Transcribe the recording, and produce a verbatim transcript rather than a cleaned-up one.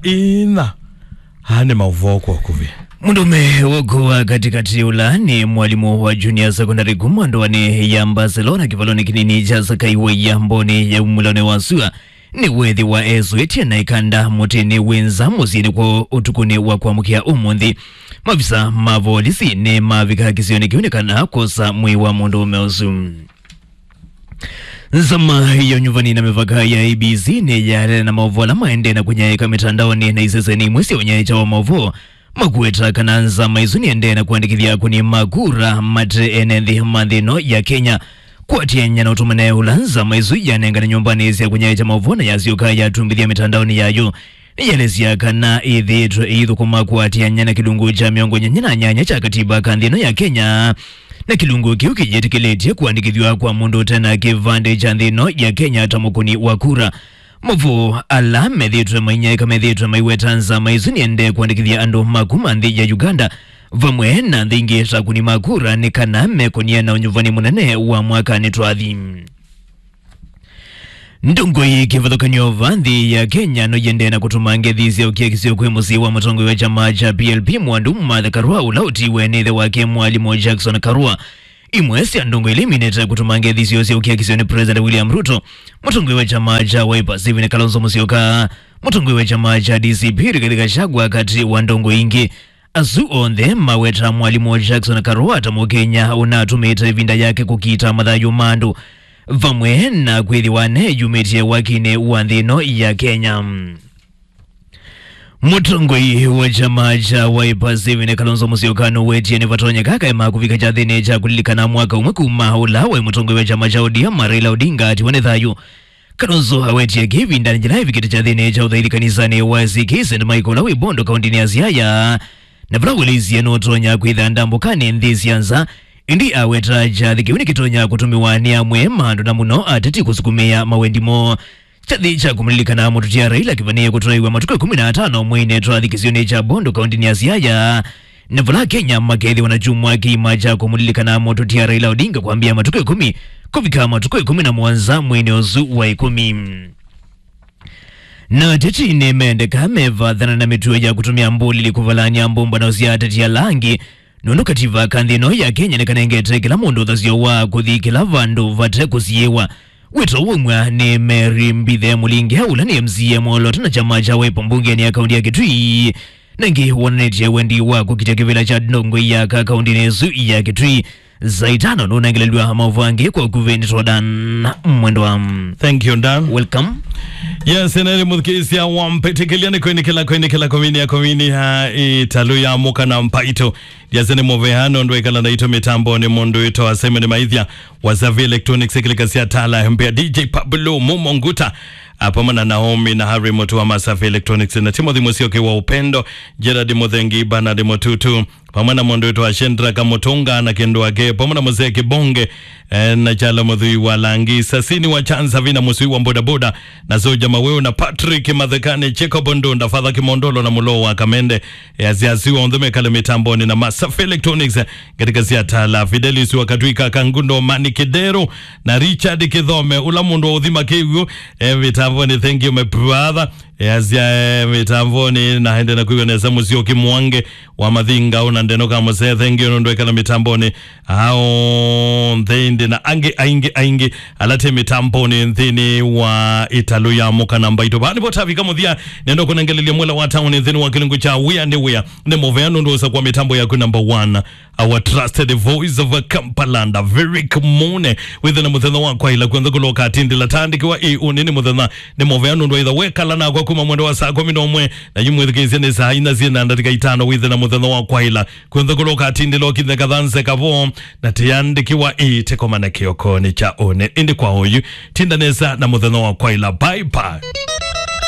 Ina. Aa nĩ maũvoo kwa ũkuvĩ. Mũndũũme woko wa katĩkatĩ ũla nĩ mwalimũ wa junior secondary kuma ndũanĩ ya Barcelona kĩvalonĩ kĩnini kya Sakai wa Iambonĩ ya umulonĩ wa sua nĩwethĩwa esũĩtye na ĩkanda mũtĩnĩ wĩ nza mũsyĩnĩ kwoo ũtukũnĩ wa kwamũkĩa ũmũnthĩ. Mavisa ma volisi nĩmavika kĩsionĩ kĩu nĩ kana kwosa mwĩĩ wa mũndũũme ũsu. Nzama ya ũnyuvani na mĩvaka ya A B C nĩyaelele na maũvoo ala maendee na kũnyaĩĩka mĩtandaonĩ na iseseni imwe sya ũnyaĩĩkya wa maũvoo makuweta kana nzama ĩsu nĩendee na kũandĩkĩthya akũni ma kura mate ene nthĩ ma nthĩ ĩno ya Kenya. Kũatĩanĩa na ũtũmane ũla nzama ĩsu yanengane nyũmbanĩ sya kũnyaĩĩkya maũvoo na yasyoka yatumbĩthya mĩtandaonĩ yayo, nĩyaelesya kana ĩthĩĩtwe ĩithũkũma kũatĩanĩa na kĩlungu kya mĩongo nyanya na nyanya kya katiba ka nthĩ ĩno ya Kenya, na kĩlungu kĩu kĩyĩtĩkĩlĩtye kũandĩkĩthw'a kwa mũndũ ũte na kĩvandĩ kya nthĩ ĩno ya Kenya ta mũkũni wa kura. Maũvoo ala methĩĩtwe mainyaĩĩka methĩĩtwe maiweta nzama ĩsu nĩendee kũandĩkĩthya andũ ma kuma nthĩ ya Uganda vamwe na nthĩ ingĩ ta akũni ma kura nĩ kana mekũnie na ũnyuvani mũnene wa mwakanĩ twathi. Ndongoi kĩvathũkany'o va nthĩ ya Kenya no yĩendee na kũtũma ngethi sya ũkiakisyo kwĩ mũsyĩ wa mũtongoi wa kyama kya P L P Mwandu Martha Karua, ũla ũtiwe nĩ ĩthe wake mwalimũ Jackson Karua. Imwe sya ndongoi ila iminĩte kũtũma ngethi syoo sya ũkiakisyo nĩ President William Ruto, mũtongoi wa kyama kya Wiper Stephen Kalonzo Musyoka, mũtongoi wa kyama kya D C P Rigathi Gachagua, katĩ wa ndongoi ingĩ. Asu onthe maweta mwalimũ Jackson Karua ta Mũkenya ũnatũmĩĩte ĩvinda yake kũkita mathayũ ma andũ, vamwe na kwĩthĩwa neyumĩtye wakinĩ wa nthĩ ĩno ya Kenya. Mũtongoi wa kyama kya Wiper Stephen Kalonzo Musyoka nũwetie nĩvatonyeka kaema kũvika kyathĩnĩ kya kũlilikana mwaka ũmwe kuma ũla waĩ mũtongoi wa kyama kya O D M Raila Odinga atiwa nĩ thayũ. Kalonzo awetie kĩvindanĩ kĩla evikĩte kyathĩnĩ kya ũthaithi kanisanĩ wa A C K Saint Michael ũla wĩ Bondo kaũntĩnĩ ya Siaya, na vala ũelesye nũtonya kwĩtha ndambũkanĩ nthĩ sya nza, ĩndĩ aweta kyathĩ kĩu nĩkĩtonya kũtũmĩwa nĩ amwe ma andũ na mũno ateti kũsukumĩa mawendi moo. Kyathĩ kya kũmũlilikana mũtũtia Raila kĩvanĩĩe kũtwaĩwa matukũ ĩkũmi na atano mweinĩ twathi kĩsionĩ kya Bondo kaũntĩnĩ ya Siaya, na vala Kenya makethĩwa na kyumwa kĩima kya kũmũlilikana mũtũtia Raila Odinga kwambĩa matukũ ĩkũmi kũvika matukũ ĩkũmi na mũonza mweinĩ ũsu wa ĩkũmi. Na ateti nĩmendeka mevathana na mĩtuo ya kũtũmĩa mbũlili kũvalany'a mbũmbano sya ateti ala angĩ, nũndũ katiba ka nthĩ ĩno ya Kenya nĩkanengete kĩla mũndũ ũthasyo wa kũthi kĩla vandũ vate kũsiĩwa. Wĩto waumw'a nĩ Mary Mbithe Mũlinge, ũla nĩ M C A mwolooto na kyama kya Wiper mbungenĩ ya kaũntĩ ya Kitui, na ĩngĩ wonanĩtye wendi wa kũkitya kĩvĩla kya ndongoi ya aka kaũntĩnĩ ĩsu ya Kitui. Saa itano nũnengelelw'a maũvoo angĩ kwa ũkuvĩ nĩ twa Dan Mwendwa. Thank you, Dan. Welcome. Yes, ĩna ĩlĩ mũthikĩĩsya wa mbĩtĩkĩlya nĩ kwĩnĩkĩla, kwĩnĩkĩla, kũminia, kũminia ĩtalũ ya mũka na mpaito. Ndiasya nĩ mũvea nũndũ wĩkala naitũ mĩtambonĩ mũndũ wĩtawa Simon Maithya wa Savvy Electronics, ĩkĩlĩka sya tala mbea, D J Pablo Mumo Nguta, a, pamwe na Naomi na Harry Mutua ma Savvy Electronics, na Timothy Musyoki wa Upendo, Gerard Muthengi, Bernard Mututu, pamwe na mũndũ wĩtawa Shendra Kamutunga na kĩndũ ake, pamwe na Mzee Kibonge, eh, na Chala Mũthui wa Langi, Sasini wa Chanza, Vina Mũsui wa Bodaboda, na Soja Maweo, na Patrick Mathekani, Jacob Ndunda, Father Kimondolo, na Mũloo wa Kamende. Easya asu onthe mekale mĩtambonĩ na Masafa Electronics, eh, katika siatala Fidelis wa Katwika, Kangundo, Mani Kidero, na Richard Kithome, ũla mũndũ wa ũthima kĩw'ũ, eh, mĩtambonĩ. Thank you, my brother. Easya, eh, mĩtambonĩ, na ende na kwĩw'a nesa Mũsyoki Mwange wa Mathinga, ũna Ndeno Kamũse, thank you nũndũ ekala mĩtambonĩ. Ao, onthe ĩndĩ na angĩ aingĩ aingĩ ala te mĩtambonĩ nthĩnĩ wa ĩtalũ ya mũka na mpaito. Vaa nĩvo tavika mũthya, nenda kũnengelelya mwela wa taoni nthĩnĩ wa kĩlungu kya wĩa nĩ wĩa. Nĩ mũvea nũndũ ũsa kwa mĩtambo yaku number one, our trusted voice of Kampala, Virik Mune. Wĩthe na mũthenya wa kwaĩla kw'onthe kũla ũkatindĩla. Taandĩkĩwa ĩ ũnĩ nĩ mũthenya, nĩ mũvea nũndũ waitha wekala nakwa kuma mwendo wa saa kũmi na ũmwe, na yu mwĩthukĩĩsye nĩ saa inya syĩ na ndatĩka itano. Wĩthe na mũthenya wa kwaĩla kw'onthe kũla ũkatindĩla, ũkithe kathanze kavo, na tĩandĩkĩwa ĩ tĩkomane kĩokonĩ kya ũnĩ. Ĩndĩ kwa ũyu, tinda nesa na mũthenya wa kwaĩla. Bye bye.